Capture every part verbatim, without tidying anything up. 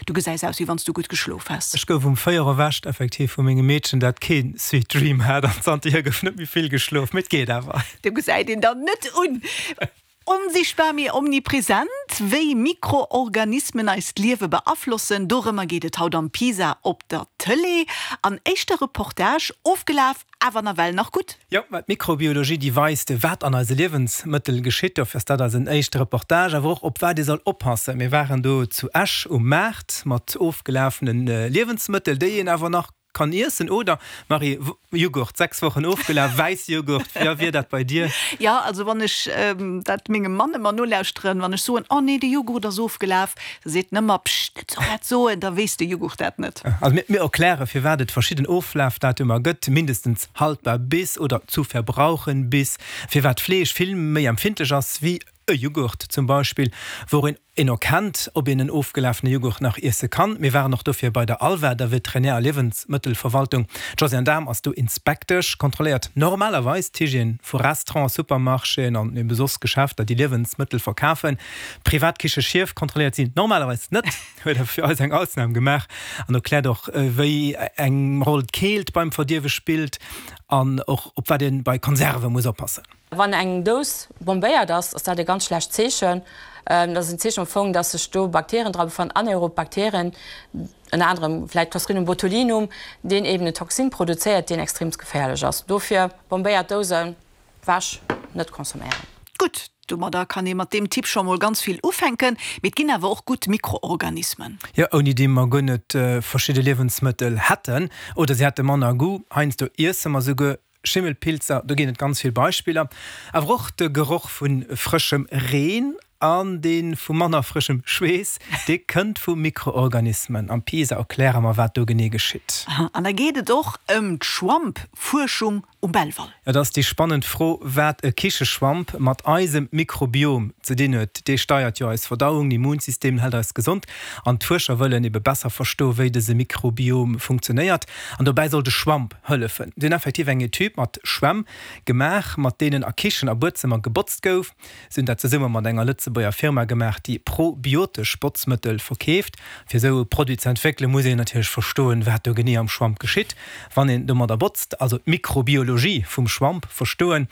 Du gesäis aus, wéi wann s du gutt geschlof häss. Ech gouf um véier erwächt, effektiv vu mengem Meedchen, dat kee Sweet Dream hat, an zanterhier gouf net méi vill geschlof, mee et geet awer. Du gesäit een der net un. Onsichtbar mee omnipresent, wéi Mikroorganismen eist Liewe beaflossen, dorëmmer geet et haut am Pisa op der Tëlee. An éischter Reportage, ofgelaf, awer nawell nach gutt. Jo, mä d'Mikrobiologie, déi weist, wat an eise Liewensmëttel geschitt. Dofir ass dat eisen éischte Reportage. Awer och, op wat ee soll oppassen. Mir waren do zu Esch um Maart mat ofgelafene Liewensmëttel, déi een awer nach kann iessen, oder Marie? Jughurt, sechs Wochen ofgelaf, Wäissjughurt, wéi wier dat bei dir? Jo, also wann ech dat mengem Mann ëmmer nolauschteren, wann ech soen, oh nee, de Jughurt ass ofgelaf, da seet en ëmmer, Pscht, net sou dat soen, da weess de Jughurt dat net. Also mir, mir erkläre firwat et verschidden Oflafdatumer gëtt, mindestens haltbar bis oder zu verbrauchen bis, firwat Fleesch vill méi empfindlech ass wéi e Jughurt zum Beispill, wou een erkennt, ob een en ofgelafene Jughurt nach iesse kann. Mir waren och dofir bei der ALVA, der Veterinär a Liewensmëttelverwaltung. D'Josiane Dahm ass do Inspektesch, kontrolléiert normalerweis d'Hygiène vu Restauranten, Supermarchéen an ebe soss Geschäfter, déi Liewensmëttel verkafen. Privat Kicheschief kontrolléiert si normalerweis net, huet awer fir eis eng Ausnam gemaach an erkläert och, wéi eng Roll d'Keelt beim Verdierwe spillt an och op wat ee bei Konserve muss oppassen. Wann eng Dous bombéiert ass, ass dat e ganz schlecht Zeechen. Dat ass en Zeechen am Fong, dass sech do Bakterien dra befannen, anaerob Bakterien, ënner anerem vläicht Clostridium botulinum, deen eben en Toxin produzéiert, deen extreemst geféierlech ass. Dofir bombéiert Dousen wäsch net consomméieren. Gutt, domadder kann ee mat deem Tipp scho mol ganz vill ufänken. Mee et ginn awer och gutt Mikroorganismen. Jo, ouni déi mer guer net verschidde Liewensmëttel hätten oder se hätte manner Goût. Heiansdo iesse mer souguer Schimmelpilzer, do ginn et ganz vill Beispiller. Awer och de Geroch vu frëschem Reen an dee vu manner frëschem Schweess, dee kënnt vu Mikroorganismen. Am PISA erkläre mer, wat do genee geschitt. An da geet et och ëm d'Schwammfuerschung um Belval. Et ass déi spannend Fro, wat e Kicheschwamp mat eisem Mikrobiom ze dinn huet. Dee steiert jo eis Verdauung, d'Immunsystem, hält eis gesond. An d'Fuerscher wëllen ebe besser verstoen, wéi dëse Mikrobiom funktionéiert. An dobäi soll de Schwamp hëllefen. Si hunn effektiv eng Etüd mat Schwämm gemaach, mat deenen a Kichen a Buedzëmmer gebotzt gouf. Si hunn dat zesumme mat enger Lëtzebuerger Firma gemaach, déi probiotesch Botzmëttel verkeeft. Fir esou e Produit ze entwéckelen, muss een natierlech verstoen, wat do genee am Schwamp geschitt, wann een domadder botzt. Also d'Mikrobiologie vum Schwamp verstoen.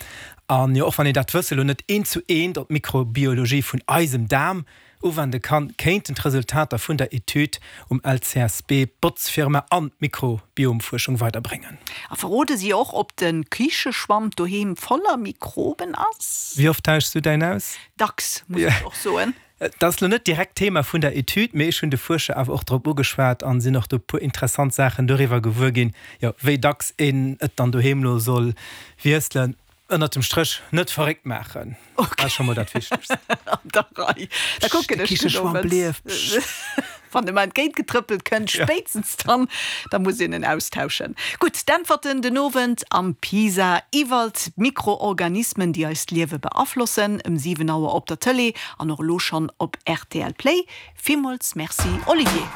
An jo, och wann een dat Wësse lo net eent zu eent op d'Mikrobiologie vun eisem Daarm uwende kann, kéinten d'Resultater vun der Etüd um L C S B d'Botzfirma an d'Mikrobiomfuerschung weiderbréngen. A verrode si och, ob de Kicheschwamp doheem voller Mikroben ass? Wéi oft tauschs du däin aus? Dacks, muss ech och soen. Dat ass lo net direkt Thema vun der Etüd, mee ech hunn de Fuerscher awer och drop ugeschwat an sinn och do e puer interessant Saachen doriwwer gewuer ginn, jo, wéi dacks een et dann doheem lo soll wiesselen. Ënnert dem Stréch, net verréckt maachen, dat ass scho mol dat Wichtegst. An der Rei. Da kucken ech den Owend. Wann e mer entgéint getrëppelt kënnt, spéitstens dann, da muss een en austauschen. Gutt, d'Äntwerten den Owend am PISA iwwert d'Mikroorganismen, déi eist Liewe beaflossen, ëm siwen Auer op der Tëlee an och elo schonn op R T L Play. Villmools Merci, Olivier.